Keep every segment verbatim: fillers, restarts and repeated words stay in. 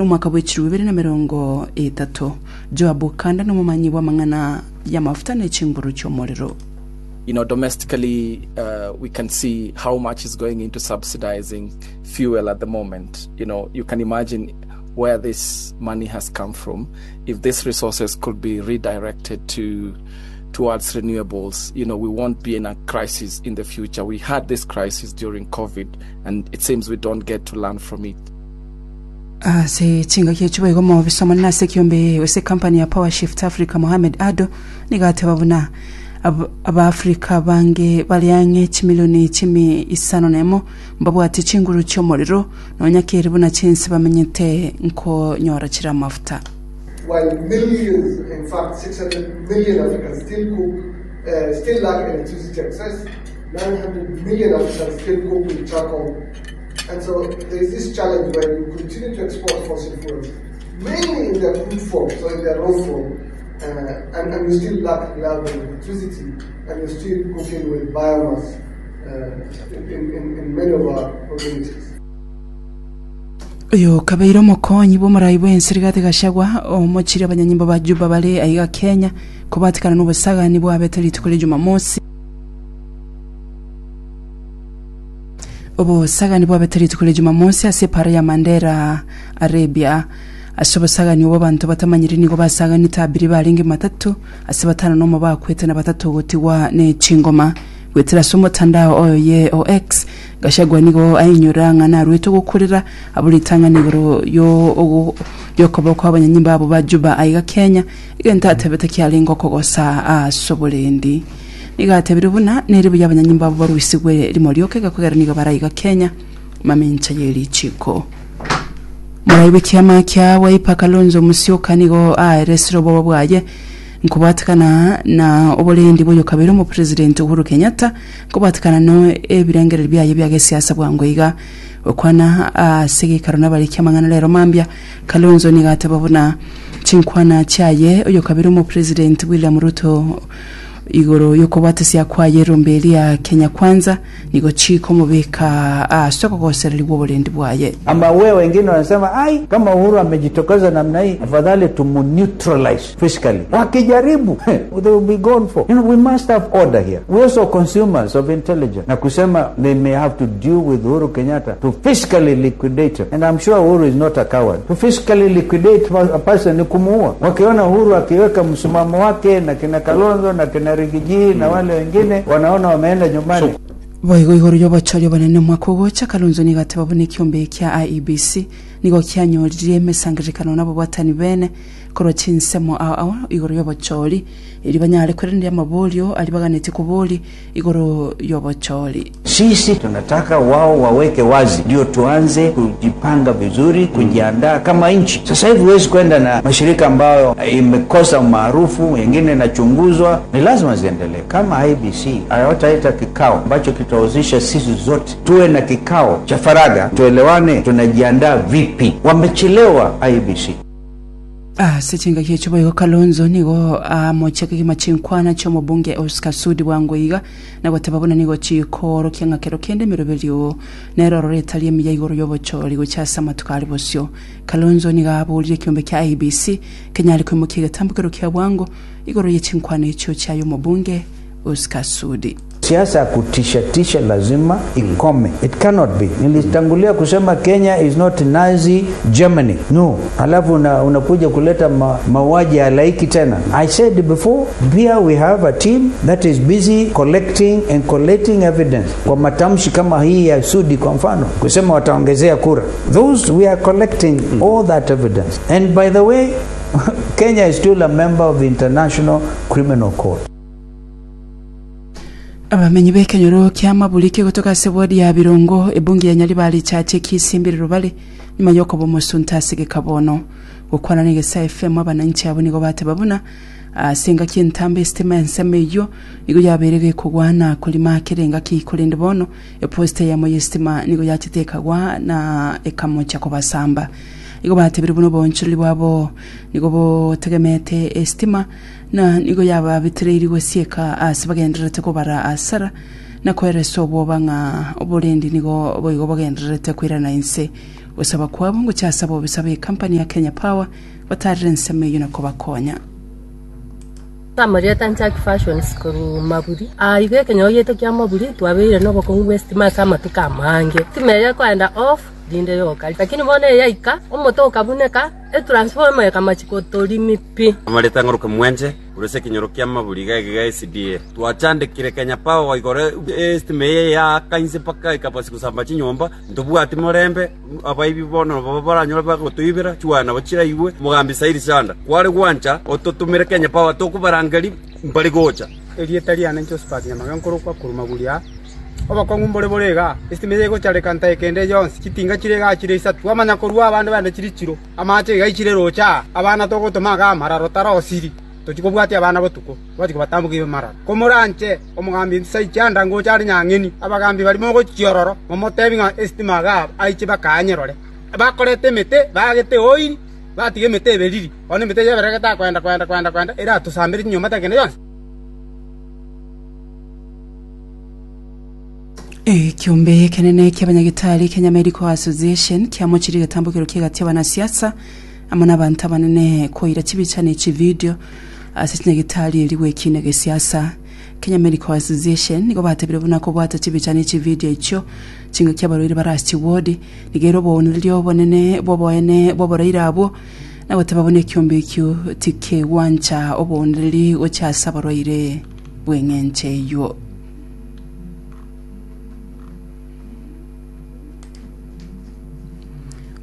Omwaka bwe chilifu ibere na emerongo etato. Joab Kanda nomomanyi bw'amang'ana y'amafuta ne chinguru chi'omorero. You know, domestically, uh, we can see how much is going into subsidizing fuel at the moment. You know, you can imagine where this money has come from. If these resources could be redirected to towards renewables, you know, we won't be in a crisis in the future. We had this crisis during COVID, and it seems we don't get to learn from it. Ase chingaki echio boigo omobisa omonene ase ekiombe ase ekampani ya Power Shift Africa Mohamed Ado nigo ateba buna ab- Abaafrika abange bare ang'e chimilioni chimi isano na emo mbabwate chinguru chi'omorero nonya kere buna chinse bamenyete nkonyora chire amafuta. While millions, in fact six hundred million Africans still cook, uh, still lack electricity access, nine hundred million Africans still cook with charcoal. And so there is this challenge where you continue to export fossil fuels, mainly in their crude form, so in their raw form, uh, and, and you still lack reliable electricity, and you're still cooking with biomass, uh, in, in, in many of our communities. Oyo kabeire omokonyi bw'omorai bw'ense Rigathi Gachagua omochire abanyanyimbo ba Juba bare aiga Kenya kobatikana n'obosagani bwabete rituko ria Jumamosi. Obosagani bwabete rituko ria Jumamosi ase epara ya Mandera Arabia. Ase obosagani obo abanto batamanyiri nigo basaganete abiri barenge matatu ase batano nomo bakwete na batato gotigwa ne chingoma. Goetera ase omotandao oye o X, Gachagua nigo ainyora ng'a narwete ogokurera abwo ritang'ani igoro yo yokoba kwa abanyanyimbo abo ba Juba aiga Kenya, egento atebete kiarenge okogosa ase oborendi. Nigo atebire buna nere buya abanyanyimbo abo baruisigwe rimo rioka egekogera nigo baraiga Kenya mamincha ye richiko. Morai bw'ekiama kia Wiper Kalonzo Musyoka nigo aeresire oboba bwaye nkobwatikana na oborendi bw'oyo kabere omopresident Uhuru Kenyatta nkobwatikana no ebirengererio biaye bia gesiasa bwango iga gokwana ase geikaro nabariki amang'ana rero mambia Kalonzo nigo ateba buna chinkwana chiaye oyo kabere omopresident William Ruto igoro yokobwatesia kwaye erombe eria Kenya Kwanza nigo chikomobeka ase okogosererigwa oborendi bwaye. Ama wewe wengine wanasema ai, kama Uhuru amejitokeza namna hii afadhali tumuneutralize fiscally. Wakijaribu they will be gone for. You know, we must have order here. We also consumers of intelligence. Na kusema they may have to deal with Uhuru Kenyatta to fiscally liquidate him. And I'm sure Uhuru is not a coward. To fiscally liquidate a person ni kumuua. Wakiona Uhuru akiweka msimamo wake na kina Kalonzo na kina Rigiji na wale wengine wanaona wameenda nyumbani. Boigo igoro y'obochori obonene omwaka ogocha Kalonzo nigo ateba buna ekiombe kia I E B C nigo kianyorire emesangererekano nabo bwatani bene korwa chinsemo ao ao igoro y'obochori eri banyare kwerenderia amaborio ari baganeti kobori igoro y'obochori. Sisi tunataka wao waweke wazi ndio tuanze kujipanga vizuri, kujiandaa kama nchi. Sasa hivi huwezi kwenda na mashirika ambayo imekosa umaarufu, wengine inachunguzwa, ni lazima ziendelee. Kama I B C hawataita kikao ambacho kitahusisha sisi zote, tuwe na kikao cha faragha, tuelewane tunajiandaa vipi. Wamechelewa I B C. Ah, sechenga kiecho boigo Kalonzo nigo amocheke kimachinkwana ch'omobunge Oscar Sudi bwango iga na goteba buna nigo chikoro kiang'akero kende emeroberio nero roretaria emiya igoro y'obochori gocha ase amatuko ari bosio. Kalonzo nigo aborire ekiombe kia I B C kenyare koimokia egetambokero kia bwango igoro y'echinkwana echio chiaye omobunge Oscar Sudi. Siasa ya kutisha tisha lazima ikome. It cannot be. Nilitangulia kusema Kenya is not Nazi Germany. No. Alafu una, unakuja kuleta ma, mauaji ya halaiki tena. I said before, here we have a team that is busy collecting and collating evidence. Kwa matamshi kama hii ya Sudi kwa mfano, kusema wataongezea kura. Those we are collecting all that evidence. And by the way, Kenya is still a member of the International Criminal Court. Abamenyi b'ekenyoro kia Mabulike gotoka ase ward ya Birongo ebunge ya Nyaribari chache kisimbiriro bale nyuma yokoba omosunte ase gekabono gokwana na Egesa F M abananchi abo nigo bateba buna ase engaki entambe esitima ensemo eyio nigo yabeire gekogwana korima kere engaki ikorende bono eposta yamo y'esitima nigo yachete ekagwa na ekamocha kobasamba igo batebire buno obonchoreri bwabo nigo botegemete esitima na nigo yababitereiri gosieka ase bagendererete kobara asara na koeresa obwoba ng'a oborendi nigo boigo bogendererete koirana inse Gosaba kwabo ngochia ase abobisa ba ekampani ya Kenya Power batarire ensemo eyio na kobakonya. Amarieta Nchaki Fashions korwa Maburi. Ah, igo ekenyogo gieto kia Maburi twabeire nobokong'u bwa estima ase amatuko amange. Estima eye ekoenda off rinde yoka. Lakini bono eyaika omote okabuneka etransformer ekamachi kotorimi pi. Amareta ng'oruke mwenche ase ekenyoro kia Maburi iga iga S D A. Twachandekire Kenya Power igoro estima eye yaaka inse mpaka ekabasi gosamba chinyomba ntobwati morembe abaibi bono baba baranyora bagotoibera chiwana nabo chiraigwe mogambi sairi sanda kware gwancha ototumire Kenya Power tokubarangeri mbari gocha. Erieta riane Josephat Nyamaga nkorokwa korwa Maburi aa. Obokong'u mbore bore iga estima eye egochareka ntaekende yonsi chitinga chire iga chire isatu amanya korwa abande bande chiri chiro amache iga ichire rocha abana togotoma iga amararo tarosiri tochikobwatia abana botuko bachiko batambuka mararo komoranche omogambi saichanda ngocha ari nyang'eni abagambi barimo gochiororo momotebi ng'a estima iga aiche bakanyerore bakorete emete bagete oiri batiga emete eberiri bono emete yeberegete kwenda kwenda kwenda kwenda eratusambire chinyomba takende yonsi. Ekiombe kenene kiabanyagitari Kenya Medical Association kiamochiri getambukiro kiegati abanasiasa amo n'abantu abanene koira chibicha ne chivideo ase chinyagitari eri gwekina gesiasa. Kenya Medical Association nigo batebire buna kobwata chibicha ne chivideo echio chinga kiabarwaire barasi ward nigero obooneri obonene bwoboene bw'oboraire abwo nagoteba buna ekiombe ekio tikegwancha obooneri gocha ase abarwaire bw'eng'encho eywo.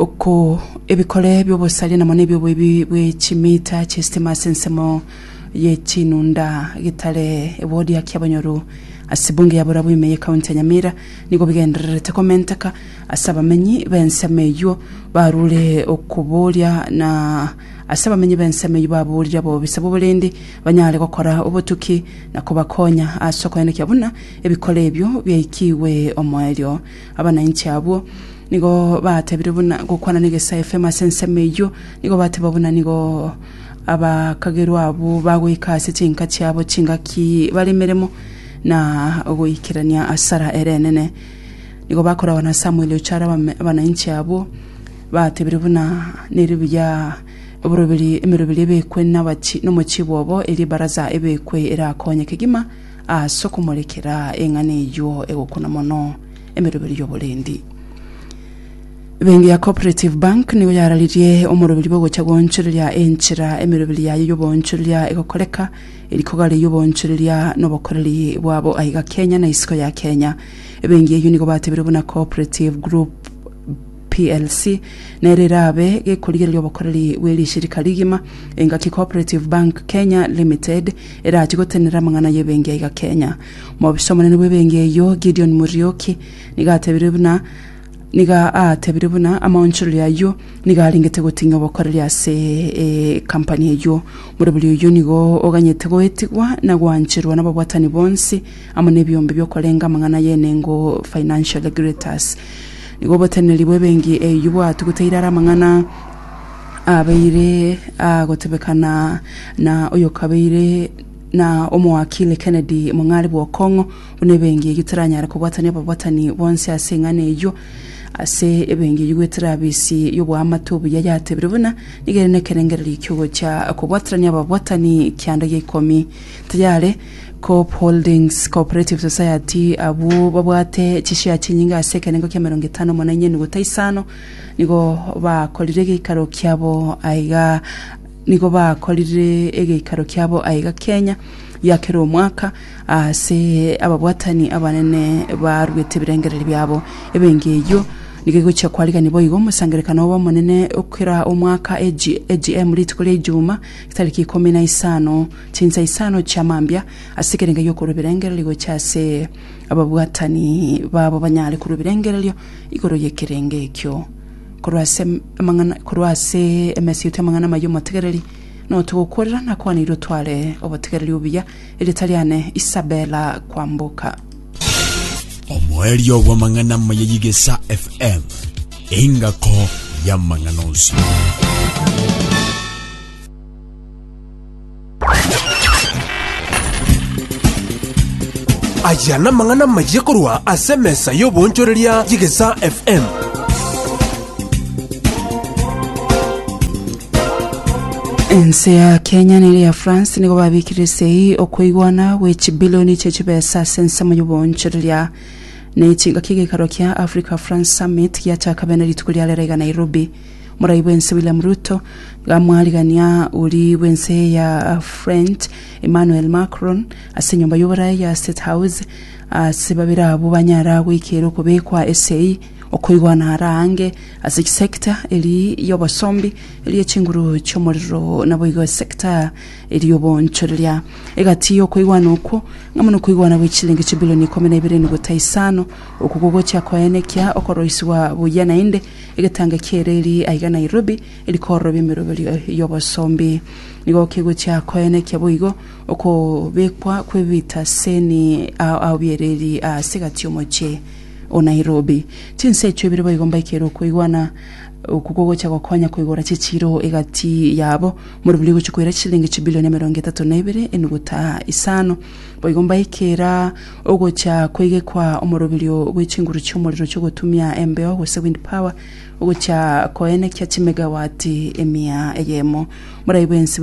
Oko ebikore by'obosari namo n'ebyoboibi bw'echimita chiestima ase ensemo yechinunda gitare ewodi ya Kiabonyoru ase bunge ya Borabu ime y'ekaunti ya Nyamira nigo bigendererete komenteka ase abamenyi b'ensemo eywo barure okoboria na ase abamenyi b'ensemo eywo baborire abobisa b'oborindi banyare gokora obotuki na kobakonya ase okoenekia buna ebikore ebyo byaikiwe omoerio. Abananchi abwo nigo batebire buna gokwana n'egesa F M ase ensemo eywo nigo bateba buna nigo abakagerwa abo bagoika ase chinka chiabo chingaki baremeremo na goikerania asara erenene. Nigo bakora na Samuel Ochara abananchi abo batebire buna neribuya oboroberi emeroberi ebekwe n'abachi n'omochibo obo eri baraza ebekwe erakonye kegima ase okomorekera eng'ana eywo egokuna mono emeroberi y'oborendi. Bengi ya Cooperative Bank nigo yararirie omoroberi bwogocha goonchoreria enchera emeroberi yayo y'oboonchoreria egokoreka erikogare y'oboonchoreria n'obokoreri bwabo aiga Kenya na isiko ya Kenya. Ebengi eyo nigo batebire buna Cooperative Group P L C nererabe gekorigereria obokoreri bw'erishirika rigima engaki Cooperative Bank Kenya Limited erachi gotenera amang'ana y'ebengi aiga Kenya. Mobisa omonene bw'ebengi eyo Gideon Murioki nigo atebire buna niga atebire buna amaonchoreria ayo niga aringete goting'a obokoreri ase e kampani eyo. Moroberi oyo nigo oganyete goetigwa na gwancherwa n'ababwatani bonsi amo n'ebiombe byokorenga amang'ana y'enengo financial regulators. Nigo oboteneri bw'ebengi eyo bwatuguteire are amang'ana abeire agotebekana na oyo kabeire na omowakili Kennedy Mong'are bw'Okong'o buna ebengi eyio teranyare kobwatania ababwatani bonsi ase eng'ana eyio ase ebengi eyio gwetera abisi y'oboamate obuya yatebire buna nigo ere nekerengererio kiogocha kobwaterania ababwatani kianda gia ikomi. Tayare Coop Holdings Cooperative Society abwo babwate chishare chinyinga ase ekerengo kia mirongo etano mono enye nuguta isano nigo bakorire egeikaro kiabo aiga nigo bakorire egeikaro kiabo aiga Kenya yakera omwaka ase ababwatani abanene barwete ebirengereri byabo. Ebengi eyio nigo egochia kwarigani boigo omosangerekano obo omonene okera omwaka A G M rituko ria Ijuma tariki ikomi na isano chinsa isano chia mambia ase ekerenge giokorwa ebirengererio gocha ase ababwatani babo banyare korwa ebirengererio igoro y'ekerenge ekio. Korwa ase amang'ana korwa ase emesito amang'ana mayo omotegereri no tugokorera na kwanirwe tware obotegereri obuya eritariane Isabella Kwamboka. Omoerio bw'amang'ana maye y'Igesa F M engako y'amang'ana onsi. Aya n'amang'ana maye korwa ase emesa y'oboonchoreria y'Igesa F M. Ense ya Kenya nere ya France nigo babikire sei okoigwana gwe chibilioni chie chibesa ase ensemo y'oboonchoreria na chingaki egekaro kia Africa France Summit giachaka bene rituko ria rero iga Nairobi. Morai bwense William Ruto gamwarigania uri bwense ya French Emmanuel Macron ase enyomba y'oborai ya State House ase babere abwo banyara goikera okobekwa esei okoigwana arange ase sector eri y'obosombi eri echinguru chi'omorero nabo igo sector eri y'oboonchoreria egati y'okoigwana okwo ng'amo nokoigwana gwe chilingi chibilioni ikomi na ibere nogota isano okwo gogochia koenekia okoroisiwa buya naende egetanga kiere eri aiga Nairobi erikorobia emeroberio y'obosombi nigo kegochia koenekia boigo okobekwa kw'ebitaseni ao biereri ase egati y'omochie o Nairobi. Chinse echo ibere boigo mbaikere okoigwana oku gogocha gokonya koigora chichiro egati yabo morobiri gochi koira chilingi chibilioni emerongo etato na ibere enuguta isano boigo mbaikera ogocha koigekwa omoroberio bwe chinguru chi'omorero chiogotumia embeo gose wind power ogocha koenekia chimegawati emia eyemo morai bwensi.